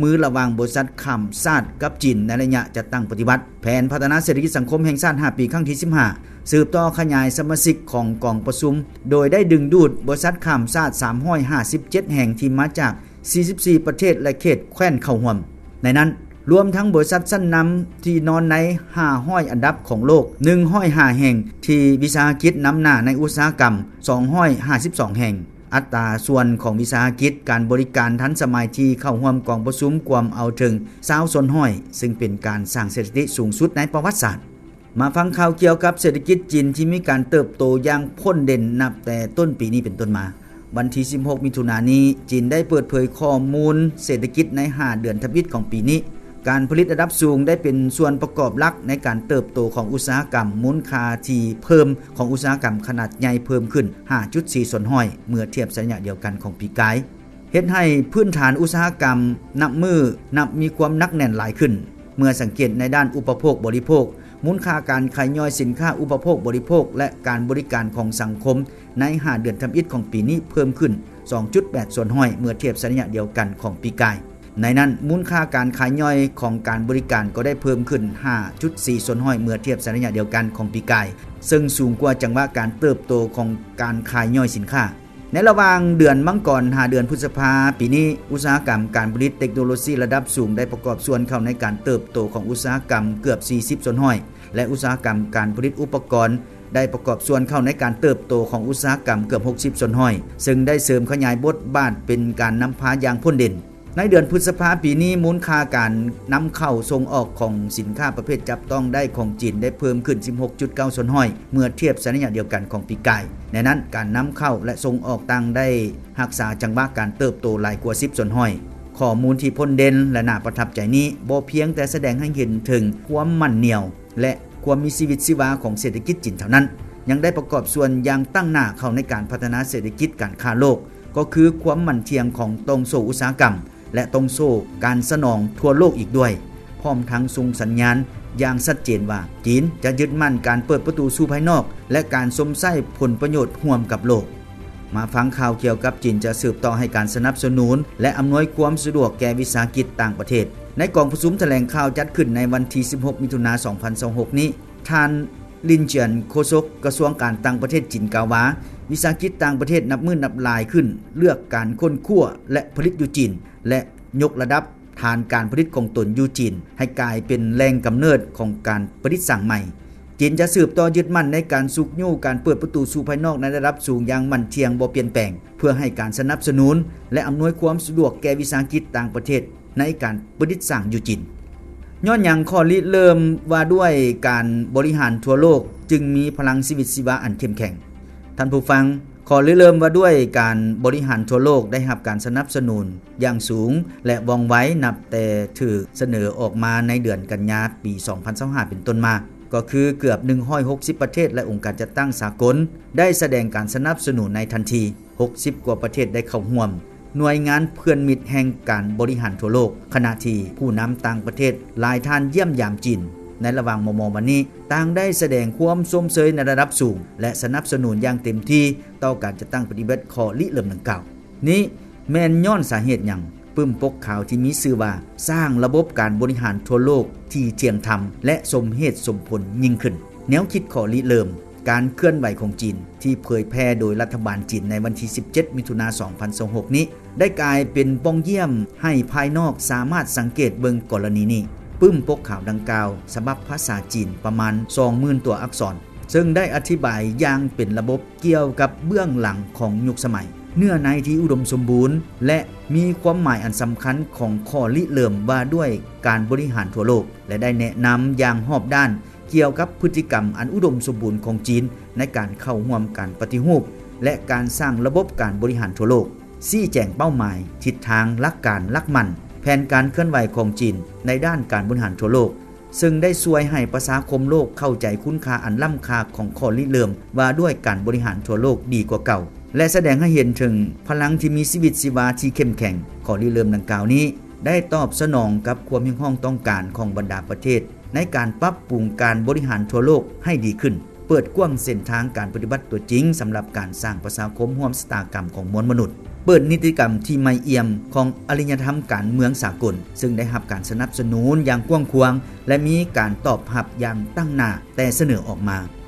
ມືລະຫວ່າງບໍລິສັດຂ້າມຊາດກັບຈີນໃນໄລຍະຈັດຕັ້ງປະຕິບັດແຜນພັດທະນາເສດຖະກິດສັງຄົມແຫ່ງຊາດຫ້າປີ ຄັ້ງທີສິບຫ້າ ສືບຕໍ່ຂະຫຍາຍສະມາຊິກຂອງກອງປະຊຸມ ໂດຍໄດ້ດຶງດູດບໍລິສັດຂ້າມຊາດສາມຮ້ອຍຫ້າສິບເຈັດແຫ່ງທີ່ມາຈາກສີ່ສິບສີ່ປະເທດ ແລະ ເຂດແຄວ້ນເຂົ້າຮ່ວມ. ໃນນັ້ນລວມທັງບໍລິສັດຊັ້ນນຳທີ່ນອນໃນຫ້າຮ້ອຍອັນດັບຂອງໂລກ ໜຶ່ງຮ້ອຍຫ້າແຫ່ງ, ທີ່ວິສາຫະກິດນຳໜ້າໃນອຸດສາຫະກຳ ສອງຮ້ອຍຫ້າສິບສອງແຫ່ງ. ອັດຕາສ່ວນຂອງວິສາຫະກິດການບໍລິການທັນສະໄໝທີ່ເຂົ້າຮ່ວມກອງປະຊຸມກວມເອົາເຖິງຊາວສ່ວນຮ້ອຍ ຊຶ່ງເປັນການສ້າງສະຖິຕິສູງສຸດໃນປະຫວັດສາດ. ມາຟັງຂ່າວກ່ຽວກັບເສດຖະກິດຈີນທີ່ມີການເຕີບໂຕຢ່າງພົ້ນເດັ່ນນັບແຕ່ຕົ້ນປີນີ້ເປັນຕົ້ນມາ. ວັນທີສິບຫົກ ມິຖຸນານີ້, ຈີນໄດ້ເປີດເຜີຍຂໍ້ມູນເສດຖະກິດໃນຫ້າເດືອນທຳອິດຂອງປີນີ້. ການຜະລິດລະດັບສູງໄດ້ເປັນສ່ວນປະກອບຫຼັກໃນການເຕີບໂຕຂອງອຸດສາຫະກຳ, ມູນຄ່າທີ່ເພີ່ມຂອງອຸດສາຫະກຳຂະໜາດໃຫຍ່ເພີ່ມຂຶ້ນຫ້າຈຸດສີ່ສ່ວນຮ້ອຍ ເມື່ອທຽບໃສ່ໄລຍະດຽວກັນຂອງປີກາຍ. ເຮັດໃຫ້ພື້ນຖານອຸດສາຫະກຳນັບມື້ນັບມີຄວາມໜັກແໜ້ນຫຼາຍຂຶ້ນ. ເມື່ອສັງເກດໃນດ້ານອຸປະໂພກບໍລິໂພກ, ມູນຄ່າການຂາຍຍ່ອຍສິນຄ້າອຸປະໂພກບໍລິໂພກ ແລະ ການບໍລິການຂອງສັງຄົມໃນຫ້າເດືອນທຳອິດຂອງປີນີ້ເພີ່ມຂຶ້ນສອງຈຸດແປດສ່ວນຮ້ອຍ ເມື່ອທຽບໃສ່ໄລຍະດຽວກັນຂອງປີກາຍ. ໃນນັ້ນ, ມູນຄ່າການຂາຍຍ່ອຍຂອງການບໍລິການກໍໄດ້ເພີ່ມຂຶ້ນຫ້າຈຸດສີ່ສ່ວນຮ້ອຍ ເມື່ອທຽບໃສ່ໄລຍະດຽວກັນຂອງປີກາຍ, ເຊິ່ງສູງກວ່າຈັງຫວະການເຕີບໂຕຂອງການຂາຍຍ່ອຍສິນຄ້າ. ໃນລະຫວ່າງເດືອນມັງກອນຫາເດືອນພຶດສະພາປີນີ້, ອຸດສາຫະກຳການຜະລິດເຕັກໂນໂລຊີລະດັບສູງໄດ້ປະກອບສ່ວນເຂົ້າໃນການເຕີບໂຕຂອງອຸດສາຫະກຳເກືອບສີ່ສິບສ່ວນຮ້ອຍ ແລະ ອຸດສາຫະກຳການຜະລິດອຸປະກອນໄດ້ປະກອບສ່ວນເຂົ້າໃນການເຕີບໂຕຂອງອຸດສາຫະກຳເກືອບຫົກສິບສ່ວນຮ້ອຍ ເຊິ່ງໄດ້ເສີມຂະຫຍາຍບົດບາດເປັນການນຳພາຢ່າງພົ້ນເດັ່ນ. ໃນເດືອນພຶດສະພາປີນີ້, ມູນຄ່າການນຳເຂົ້າສົ່ງອອກຂອງສິນຄ້າປະເພດຈັບຕ້ອງໄດ້ຂອງຈີນໄດ້ເພີ່ມຂຶ້ນສິບຫົກຈຸດເກົ້າສ່ວນຮ້ອຍ ເມື່ອທຽບໃສ່ໄລຍະດຽວກັນຂອງປີກາຍ. ໃນນັ້ນ, ການນຳເຂົ້າ ແລະ ສົ່ງອອກຕ່າງໄດ້ຮັກສາຈັງຫວະການເຕີບໂຕຫຼາຍກວ່າສິບສ່ວນຮ້ອຍ. ຂໍ້ມູນທີ່ພົ້ນເດັ່ນ ແລະ ໜ້າປະທັບໃຈນີ້ ບໍ່ພຽງແຕ່ສະແດງໃຫ້ເຫັນເຖິງຄວາມໝັ້ນໜ້ຽວ ແລະ ຄວາມມີຊີວິດຊີວາຂອງເສດຖະກິດຈີນເທົ່ານັ້ນ, ຍັງໄດ້ປະກອບສ່ວນຢ່າງຕັ້ງໜ້າເຂົ້າໃນການພັດທະນາເສດຖະກິດການຄ້າໂລກ, ກໍຄືຄວາມໝັ້ນທ່ຽງຂອງຕ່ອງໂສ້ອຸດສາຫະກຳ ແລະ ຕ່ອງໂສ້ການສະໜອງທົ່ວໂລກອີກດ້ວຍ, ພ້ອມທັງສົ່ງສັນຍານຢ່າງຊັດເຈນວ່າ ຈີນຈະຍຶດໝັ້ນການເປີດປະຕູສູ່ພາຍນອກ ແລະ ການຊົມໃຊ້ຜົນປະໂຫຍດຮ່ວມກັບໂລກ. ມາຟັງຂ່າວກ່ຽວກັບຈີນຈະສືບຕໍ່ໃຫ້ການສະໜັບສະໜູນ ແລະ ອຳນວຍຄວາມສະດວກແກ່ວິສາຫະກິດຕ່າງປະເທດ. ໃນກອງປະຊຸມຖະແຫຼງຂ່າວຈັດຂຶ້ນໃນວັນທີສິບຫົກ ມິຖຸນາ ສອງພັນຊາວຫົກນີ້, ທ່ານ ລິນຈຽນ ໂຄສົກກະຊວງການຕ່າງປະເທດຈີນກ່າວວ່າ, ວິສາຫະກິດຕ່າງປະເທດນັບມື້ນັບຫຼາຍຂຶ້ນເລືອກການຄົ້ນຄວ້າ ແລະ ຜະລິດຢູ່ຈີນ ແລະ ຍົກລະດັບຖານການຜະລິດຂອງຕົນຢູ່ຈີນໃຫ້ກາຍເປັນແຫຼ່ງກຳເນີດຂອງການປະດິດສ້າງໃໝ່. ຈີນຈະສືບຕໍ່ຍຶດໝັ້ນໃນການຊຸກຍູ້ການເປີດປະຕູສູ່ພາຍນອກໃນລະດັບສູງຢ່າງໝັ້ນທ່ຽງບໍ່ປ່ຽນແປງ, ເພື່ອໃຫ້ການສະໜັບສະໜູນ ແລະ ອຳນວຍຄວາມສະດວກແກ່ວິສາຫະກິດຕ່າງປະເທດໃນການປະດິດສ້າງຢູ່ຈີນ. ຍ້ອນຫຍັງຂໍ້ລິເລີ່ມວ່າດ້ວຍການບໍລິຫານທົ່ວໂລກຈຶ່ງມີພະລັງຊີວິດຊີວາອັນເຂັ້ມແຂງ? ທ່ານຜູ້ຟັງ, ຂໍ້ລິເລີ່ມວ່າດ້ວຍການບໍລິຫານທົ່ວໂລກໄດ້ຮັບການສະໜັບສະໜູນຢ່າງສູງ ແລະ ວ່ອງໄວ ນັບແຕ່ຖືກສະເໜີອອກມາໃນເດືອນກັນຍາປີສອງພັນຊາວຫ້າເປັນຕົ້ນມາ, ກໍຄືເກືອບໜຶ່ງຮ້ອຍຫົກສິບປະເທດ ແລະ ອົງການຈັດຕັ້ງສາກົນໄດ້ສະແດງການສະໜັບສະໜູນໃນທັນທີ. ຫົກສິບກວ່າປະເທດໄດ້ເຂົ້າຮ່ວມ. ໜ່ວຍງານເພື່ອນມິດແຫ່ງການບໍລິຫານທົ່ວໂລກ, ຂະນະທີ່ຜູ້ນຳຕ່າງປະເທດຫຼາຍທ່ານຢ້ຽມຢາມຈີນໃນລະຫວ່າງມໍ່ໆມານີ້, ຕ່າງໄດ້ສະແດງຄວາມຊົມເຊີຍໃນລະດັບສູງ ແລະ ສະໜັບສະໜູນຢ່າງເຕັມທີ່ຕໍ່ການຈັດຕັ້ງປະຕິບັດຂໍ້ລິເລີ່ມດັ່ງກ່າວ. ນີ້ແມ່ນຍ້ອນສາເຫດຫຍັງ? ປຶ້ມປົກຂາວທີ່ມີຊື່ວ່າ ສ້າງລະບົບການບໍລິຫານທົ່ວໂລກທີ່ທ່ຽງທຳ ແລະ ສົມເຫດສົມຜົນຍິ່ງຂຶ້ນ. ແນວຄິດຂໍ້ລິເລີ່ມ ການເຄື່ອນໄຫວຂອງຈີນທີ່ເຜີຍແຜ່ໂດຍລັດຖະບານຈີນໃນວັນທີສິບເຈັດ ມິຖຸນາ ສອງພັນຊາວຫົກນີ້ ໄດ້ກາຍເປັນປ່ອງຢ້ຽມໃຫ້ພາຍນອກສາມາດສັງເກດເບິ່ງກໍລະນີນີ້. ປຶ້ມປົກຂາວດັ່ງກ່າວ ສະບັບພາສາຈີນປະມານສອງໝື່ນຕົວອັກສອນ, ເຊິ່ງໄດ້ອະທິບາຍຢ່າງເປັນລະບົບກ່ຽວກັບເບື້ອງຫຼັງຂອງຍຸກສະໄໝ, ເນື້ອໃນທີ່ອຸດົມສົມບູນ ແລະ ມີຄວາມໝາຍອັນສຳຄັນຂອງຂໍ້ລິເລີ່ມວ່າດ້ວຍການບໍລິຫານທົ່ວໂລກ ແລະ ໄດ້ແນະນຳຢ່າງຮອບດ້ານ ກ່ຽວກັບພຶດຕິກຳອັນອຸດົມສົມບູນຂອງຈີນໃນການເຂົ້າຮ່ວມການປະຕິຮູບ ແລະ ການສ້າງລະບົບການບໍລິຫານທົ່ວໂລກ, ຊີ້ແຈງເປົ້າໝາຍ, ທິດທາງ, ຫຼັກການ, ຫຼັກໝັ້ນ, ແຜນການເຄື່ອນໄຫວຂອງຈີນໃນດ້ານການບໍລິຫານທົ່ວໂລກ, ເຊິ່ງໄດ້ຊ່ວຍໃຫ້ປະຊາຄົມໂລກເຂົ້າໃຈຄຸນຄ່າອັນລ້ຳຄ່າຂອງຂໍ້ລິເລີ່ມວ່າດ້ວຍການບໍລິຫານທົ່ວໂລກດີກວ່າເກົ່າ ແລະ ສະແດງໃຫ້ເຫັນເຖິງພະລັງທີ່ມີຊີວິດຊີວາທີ່ເຂັ້ມແຂງ. ຂໍ້ລິເລີ່ມດັ່ງກ່າວນີ້ ໄດ້ຕອບສະໜອງກັບຄວາມຮຽກຮ້ອງຕ້ອງການຂອງບັນດາປະເທດ ໃນການປັບປຸງການບໍລິຫານທົ່ວໂລກໃຫ້ດີຂຶ້ນ, ເປີດກວ້າງເສັ້ນທາງການປະຕິບັດຕົວຈິງສຳລັບການສ້າງປະຊາຄົມຮ່ວມຊະຕາກຳຂອງມວນມະນຸດ. ເປີດນິຕິກຳທີ່ໃໝ່ອ່ຽມຂອງອາລິຍະທຳການເມືອງສາກົນ, ເຊິ່ງໄດ້ຮັບການສະໜັບສະໜູນຢ່າງກວ້າງຂວາງ ແລະ ມີການຕອບຮັບຢ່າງຕັ້ງໜ້າແຕ່ສະເໜີອອກມາ.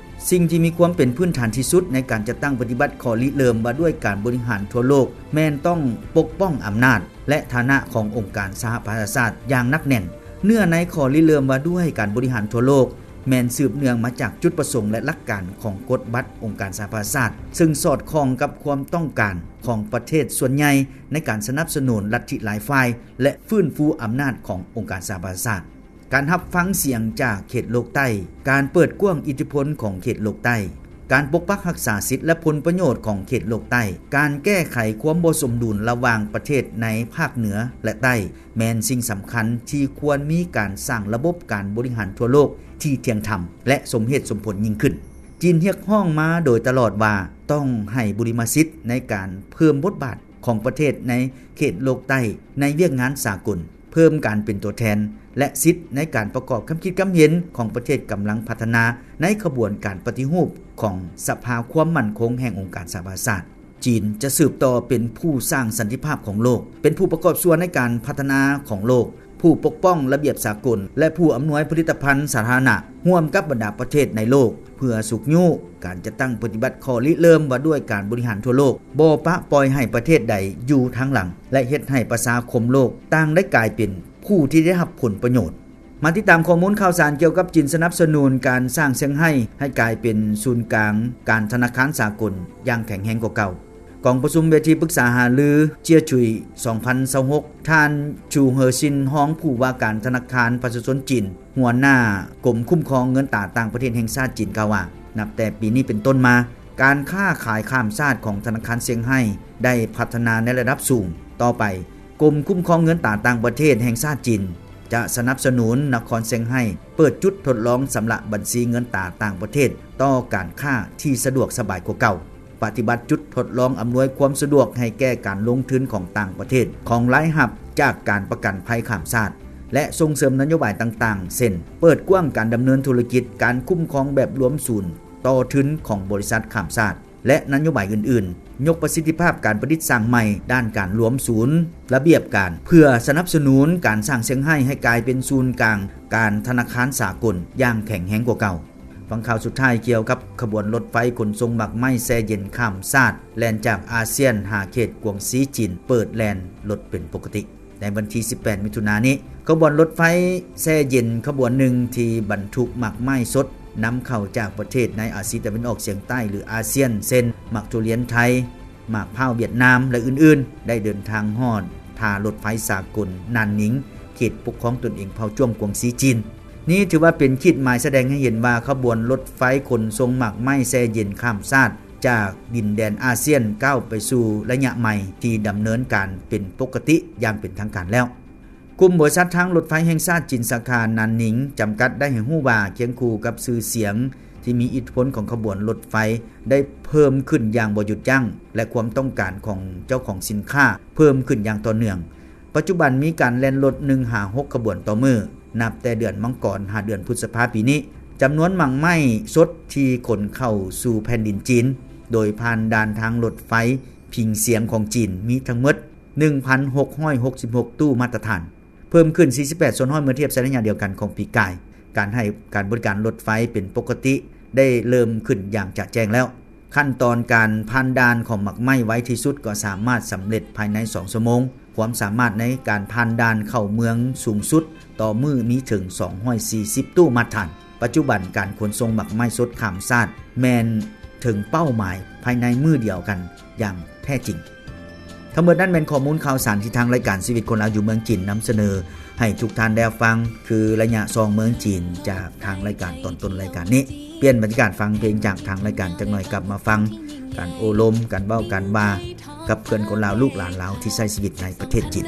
ສິ່ງທີ່ມີຄວາມເປັນພື້ນຖານທີ່ສຸດໃນການຈັດຕັ້ງປະຕິບັດຂໍ້ລິເລີ່ມວ່າດ້ວຍການບໍລິຫານທົ່ວໂລກ ແມ່ນຕ້ອງປົກປ້ອງອຳນາດ ແລະ ຖານະຂອງອົງການສະຫະປະຊາຊາດຢ່າງໜັກແໜ້ນ. ເນື້ອໃນຂໍ້ລິເລີ່ມວ່າດ້ວຍການບໍລິຫານທົ່ວໂລກ ແມ່ນສືບເນື່ອງມາຈາກຈຸດປະສົງ ແລະ ຫຼັກການຂອງກົດບັດອົງການສະຫະປະຊາຊາດ, ເຊິ່ງສອດຄ່ອງກັບຄວາມຕ້ອງການຂອງປະເທດສ່ວນໃຫຍ່ໃນການສະໜັບສະໜູນລັດທິຫຼາຍຝ່າຍ ແລະ ຟື້ນຟູອຳນາດຂອງອົງການສະຫະປະຊາຊາດ. ການຮັບຟັງສຽງຈາກເຂດໂລກໃຕ້, ການເປີດກວ້າງອິດທິພົນຂອງເຂດໂລກໃຕ້, ການປົກປັກຮັກສາສິດ ແລະ ຜົນປະໂຫຍດຂອງເຂດໂລກໃຕ້, ການແກ້ໄຂຄວາມບໍ່ສົມດຸນລະຫວ່າງປະເທດໃນພາກເໜືອ ແລະ ໃຕ້ ແມ່ນສິ່ງສຳຄັນທີ່ຄວນມີການສ້າງລະບົບການບໍລິຫານທົ່ວໂລກທີ່ທ່ຽງທຳ ແລະ ສົມເຫດສົມຜົນຍິ່ງຂຶ້ນ. ຈີນຮຽກຮ້ອງມາໂດຍຕະຫຼອດວ່າຕ້ອງໃຫ້ບຸລິມະສິດໃນການເພີ່ມບົດບາດຂອງປະເທດໃນເຂດໂລກໃຕ້ໃນວຽກງານສາກົນ, ເພີ່ມການເປັນຕົວແທນ ແລະ ສິດໃນການປະກອບຄຳຄິດຄຳເຫັນຂອງປະເທດກຳລັງພັດທະນາໃນຂະບວນການປະຕິຮູບຂອງສະພາຄວາມໝັ້ນຄົງແຫ່ງອົງການສະຫະປະຊາຊາດ. ຈີນຈະສືບຕໍ່ເປັນຜູ້ສ້າງສັນຕິພາບຂອງໂລກ, ເປັນຜູ້ປະກອບສ່ວນໃນການພັດທະນາຂອງໂລກ, ຜູ້ປົກປ້ອງລະບຽບສາກົນ ແລະ ຜູ້ອຳນວຍຜະລິດຕະພັນສາທາລະນະ ຮ່ວມກັບບັນດາປະເທດໃນໂລກ ເພື່ອຊຸກຍູ້ການຈັດຕັ້ງປະຕິບັດຂໍ້ລິເລີ່ມວ່າດ້ວຍການບໍລິຫານທົ່ວໂລກ, ບໍ່ປະປ່ອຍໃຫ້ປະເທດໃດຢູ່ທາງຫຼັງ ແລະ ເຮັດໃຫ້ປະຊາຄົມໂລກຕ່າງໄດ້ກາຍເປັນຜູ້ທີ່ໄດ້ຮັບຜົນປະໂຫຍດ. ມາຕິດຕາມຂໍ້ມູນຂ່າວສານກ່ຽວກັບຈີນສະໜັບສະໜູນການສ້າງຊຽງໄຮ້ໃຫ້ກາຍເປັນສູນກາງການທະນາຄານສາກົນຢ່າງແຂງແຮງກວ່າເກົ່າ. ກອງປະຊຸມເວທີປຶກສາຫາລືເຈຍຈຸຍ ສອງພັນຊາວຫົກ ທ່ານ ຈູເຮີຊິນ ຮອງຜູ້ວ່າການທະນາຄານປະຊາຊົນຈີນ, ຫົວໜ້າກົມຄຸ້ມຄອງເງິນຕາຕ່າງປະເທດແຫ່ງຊາດຈີນ ກ່າວວ່າ ນັບແຕ່ປີນີ້ເປັນຕົ້ນມາ, ການຄ້າຂາຍຂ້າມຊາດຂອງທະນາຄານຊຽງໄຮ້ໄດ້ພັດທະນາໃນລະດັບສູງ. ຕໍ່ໄປ, ກົມຄຸ້ມຄອງເງິນຕາຕ່າງປະເທດແຫ່ງຊາດຈີນ ຈະສະໜັບສະໜູນນະຄອນຊຽງໄຮ້ເປີດຈຸດທົດລອງຊຳລະບັນຊີເງິນຕາຕ່າງປະເທດຕໍ່ການຄ້າທີ່ສະດວກສະບາຍກວ່າເກົ່າ, ປະຕິບັດຈຸດທົດລອງອຳນວຍຄວາມສະດວກໃຫ້ແກ່ການລົງທຶນຂອງຕ່າງປະເທດ, ຂອງລາຍຮັບຈາກການປະກັນໄພຂ້າມຊາດ ແລະ ສົ່ງເສີມນະໂຍບາຍຕ່າງໆ ເຊັ່ນ ເປີດກວ້າງການດຳເນີນທຸລະກິດ, ການຄຸ້ມຄອງແບບລວມສູນຕໍ່ທຶນຂອງບໍລິສັດຂ້າມຊາດ ແລະ ນະໂຍບາຍອື່ນໆ, ຍົກປະສິດທິພາບການປະດິດສ້າງໃໝ່ດ້ານການລວມສູນລະບຽບການ ເພື່ອສະໜັບສະໜູນການສ້າງຊຽງໄຮ້ໃຫ້ກາຍເປັນສູນກາງການທະນາຄານສາກົນຢ່າງແຂງແຮງກວ່າເກົ່າ. ຟັງຂ່າວສຸດທ້າຍກ່ຽວກັບຂະບວນລົດໄຟຂົນສົ່ງໝາກໄມ້ແຊ່ເຢັນຂ້າມຊາດ ແລ່ນຈາກອາຊຽນຫາເຂດກວາງຊີຈີນ ເປີດແລ່ນລົດເປັນປົກກະຕິ. ໃນວັນທີສິບແປດ ມິຖຸນານີ້, ຂະບວນລົດໄຟແຊ່ເຢັນຂະບວນໜຶ່ງທີ່ບັນທຸກໝາກໄມ້ສົດນຳເຂົ້າຈາກປະເທດໃນອາຊີຕາເວັນອອກສຽງໃຕ້ ຫຼື ອາຊຽນ ເຊັ່ນ ໝາກທຸລຽນໄທ, ໝາກພ້າວຫວຽດນາມ ແລະ ອື່ນໆ ໄດ້ເດີນທາງຮອດທ່າລົດໄຟສາກົນນານນິງ ເຂດປົກຄອງຕົນເອງເຜົ່າຈ້ວງກວາງຊີຈີນ. ນີ້ຖືວ່າເປັນຂີດໝາຍສະແດງໃຫ້ເຫັນວ່າຂະບວນລົດໄຟຂົນສົ່ງໝາກໄມ້ແຊ່ເຢັນຂ້າມຊາດ ຈາກດິນແດນອາຊຽນກ້າວໄປສູ່ໄລຍະໃໝ່ທີ່ດຳເນີນການເປັນປົກກະຕິຢ່າງເປັນທາງການແລ້ວ. ກຸ່ມບໍລິສັດທາງລົດໄຟແຫ່ງຊາດຈີນສາຂານານນິງຈຳກັດໄດ້ໃຫ້ຮູ້ວ່າ ຄຽງຄູ່ກັບຊື່ສຽງທີ່ມີອິດທິພົນຂອງຂະບວນລົດໄຟໄດ້ເພີ່ມຂຶ້ນຢ່າງບໍ່ຢຸດຢັ້ງ ແລະ ຄວາມຕ້ອງການຂອງເຈົ້າຂອງສິນຄ້າເພີ່ມຂຶ້ນຢ່າງຕໍ່ເນື່ອງ. ປັດຈຸບັນມີການແລ່ນລົດໜຶ່ງຫາຫົກຂະບວນຕໍ່ມື້, ນັບແຕ່ເດືອນມັງກອນຫາເດືອນພຶດສະພາປີນີ້, ຈຳນວນໝາກໄມ້ສົດທີ່ຂົນເຂົ້າສູ່ແຜ່ນດິນຈີນ ໂດຍຜ່ານດ່ານທາງລົດໄຟຜິງສຽງຂອງຈີນ ມີທັງໝົດໜຶ່ງພັນຫົກຮ້ອຍຫົກສິບຫົກຕູ້ມາດຕະຖານ, ເພີ່ມຂຶ້ນສີ່ສິບແປດສ່ວນຮ້ອຍເມື່ອທຽບໃສ່ໄລຍະດຽວກັນຂອງປີກາຍ. ການໃຫ້ການບໍລິການລົດໄຟເປັນປົກກະຕິໄດ້ເລີ່ມຂຶ້ນຢ່າງຈະແຈ້ງແລ້ວ. ຂັ້ນຕອນການຜ່ານດ່ານຂອງໝາກໄມ້ໄວທີ່ສຸດກໍສາມາດສຳເລັດພາຍໃນສອງຊົ່ວໂມງ. ຄວາມສາມາດໃນການຜ່ານດ່ານເຂົ້າເມືອງສູງສຸດຕໍ່ມື້ມີເຖິງສອງຮ້ອຍສີ່ສິບຕູ້ມາດຖານ. ປັດຈຸບັນການຂົນສົ່ງໝາກໄມ້ສົດຂ້າມຊາດແມ່ນເຖິງເປົ້າໝາຍພາຍໃນມື້ດຽວກັນຢ່າງແທ້ຈິງ. ທັງໝົດນັ້ນແມ່ນຂໍ້ມູນຂ່າວສານທີ່ທາງລາຍການຊີວິດຄົນລາວຢູ່ເມືອງຈີນນຳສະເໜີໃຫ້ທຸກທ່ານໄດ້ຮັບຟັງ, ຄືໄລຍະສ່ອງເມືອງຈີນຈາກທາງລາຍການຕອນຕົ້ນລາຍການນີ້. ປ່ຽນບັນຍາກາດຟັງເພງຈາກທາງລາຍການຈັກໜ່ອຍ, ກັບມາຟັງການໂອ້ລົມ, ການເວົ້າ, ການວ່າກັບເພື່ອນຄົນລາວ, ລູກຫຼານລາວທີ່ໃຊ້ຊີວິດໃນປະເທດຈີນ.